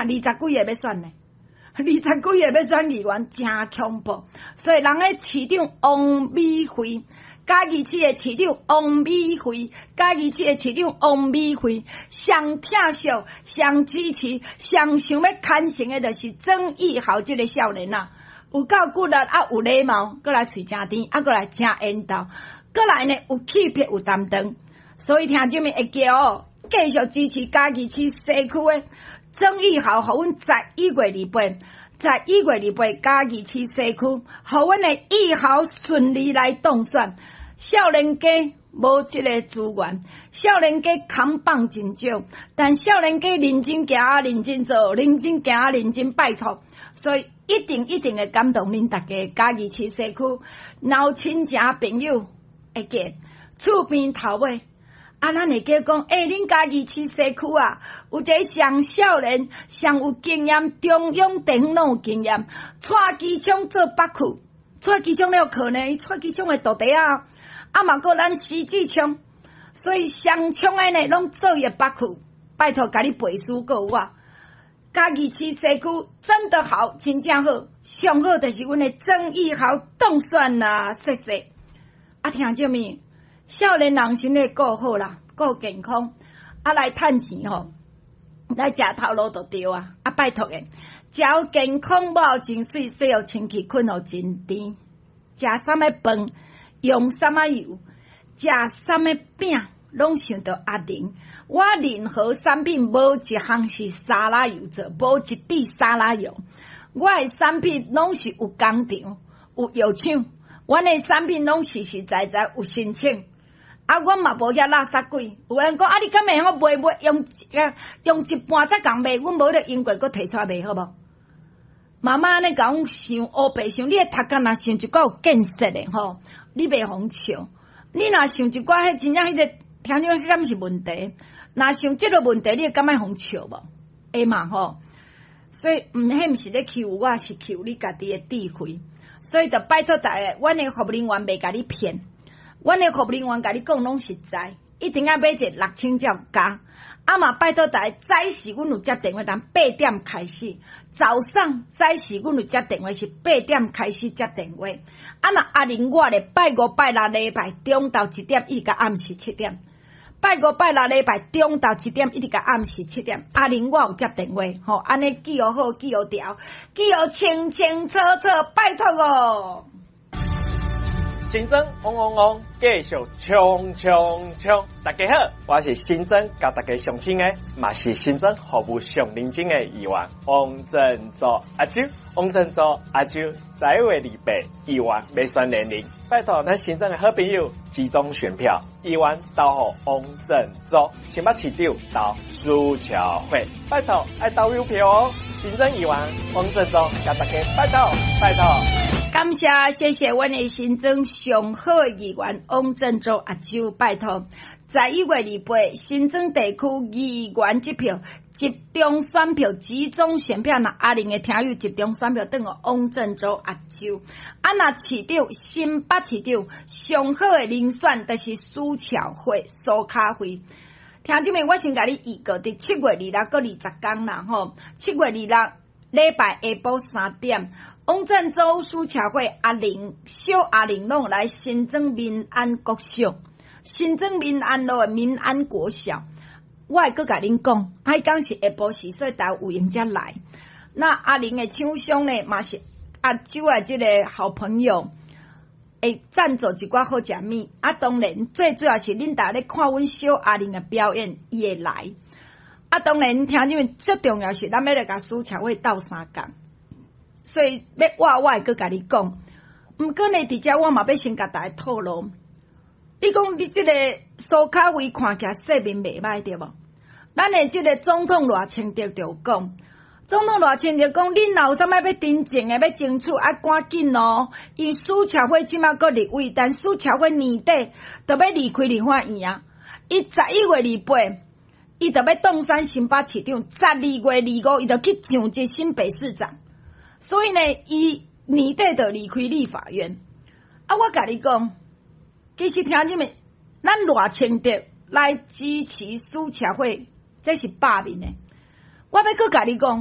二十幾个欲選呢，二十幾个欲選議員，誠恐怖。所以人咧市長王美惠，嘉義市的市長王美惠，嘉義市的市長王美惠，上疼惜、上支持、上想欲牽成的，就是曾義豪這个少年啊，有夠骨力啊，有禮貌，閣來喙誠甜，啊，閣來誠緣投，閣來呢有氣魄有擔當，所以聽眾們會記哦，繼續支持嘉義市西區的曾義豪，予阮11月28，十一月二八嘉義市西區，予阮的義豪順利來當選。少年家無這個資源，少年家扛棒真少，但少年家認真行，認真做，認真行，認真拜託，所以一定一定會感動恁大家。嘉義市西區，若有親情朋友會記厝邊頭尾。啊，咱會記講，欸，恁嘉義市西區啊，有一个上少年、上有經驗、中央地方攏有經驗，帶機槍做北區，帶機槍了可能，帶機槍的徒弟啊，啊嘛閣咱施志聰，所以雙槍的呢，攏做伊的北區，拜託，共你背書閣有我。嘉義市西區真的好，真正好，上好就是阮的曾義豪當選啦，謝謝。啊，聽眾們。少年人身體顧好啦，顧健康，啊來趁錢吼，來食頭路就對啊！啊拜託的，食予健康，抹予真媠，洗予清氣，睏予真甜。食啥物飯，用啥物油，食啥物餅，攏想著阿玲。我任何產品無一項是沙拉油做，無一滴沙拉油。我的產品攏是有工廠、有藥廠，阮的產品攏實實在在有申請。啊，阮嘛無遐垃圾鬼。有人講啊，你敢會曉賣賣用用一半才共賣？阮無咧用過，閣提出來賣好無？媽媽按呢共阮想，烏白想，你的頭殼若想一寡有見識的吼，你袂予笑。你若想一寡彼真正彼个聽眾，彼敢是問題？若想這个問題，你會感覺予笑無？會嘛吼？所以，毋，彼毋是咧欺負我，是欺負你家己的智慧。所以，就拜託大家，阮的服務人員袂共你騙。阮的服務人員共你講攏實在，一定愛買一个6000才有加。啊嘛，拜託大家，早時阮有接電話，從8點開始。早上早時阮有接電話，是八點開始接電話。啊若阿玲我咧，拜五拜六禮拜中晝1點一直到暗時7點。拜五拜六禮拜中晝一點一直到暗時七點。阿玲我有接電話，吼，按呢記予好，記予牢，記予清清楚楚，拜託哦。新莊嗡嗡嗡，繼續衝衝衝！大家好，我是新莊佮大家相親的，嘛是新莊服務上認真的議員王振祖阿周，王振祖阿周，11月28議員欲選連任，拜託咱新莊的好朋友集中選票，議員投予王振祖，新北市長投蘇巧慧，拜託愛投郵票哦！新莊議員王振祖佮大家拜託拜託。感謝謝謝阮的新莊上好的議員王振祖阿周，拜託，11月28新莊地區議員這票集中選票，集中選票，若阿玲的聽友集中選票，轉予王振祖阿周。啊，若市長新北市長上好的人選，就是蘇巧慧、蘇卡慧。聽眾們，我先共你預告，佇7月26閣20工啦吼，7月26禮拜下晡3點。王振祖、蘇巧慧、阿玲、小阿玲攏來新莊民安國小，新莊民安路的民安國小，我會閣共恁講，彼工是下晡時，所以大家有閒才來。那阿玲的廠商呢，嘛是阿周的這個好朋友，會贊助一寡好食物。啊，當然最主要是恁大家咧看阮小阿玲的表演，伊會來。啊，當然聽你們最重要是，咱欲來共蘇巧慧鬥相共。所以欲我我會閣共你講，毋過呢，佇遮我嘛欲先共大家透露。你講你這个蘇卡威看起來勢面袂䆀對無？咱的這个總統賴清德就講，總統賴清德講，恁若有啥物欲真正的欲爭取，愛趕緊哦。因為蘇巧慧這馬閣立委，但蘇巧慧年底就欲離開立法院啊。伊11月28，伊就欲當選新北市長；12月25，伊就去上這新北市長。所以呢，伊年底就離開立法院。啊，我共你講，其實聽你們，咱賴清德來支持蘇巧慧，這是罷免的。我欲閣共你講。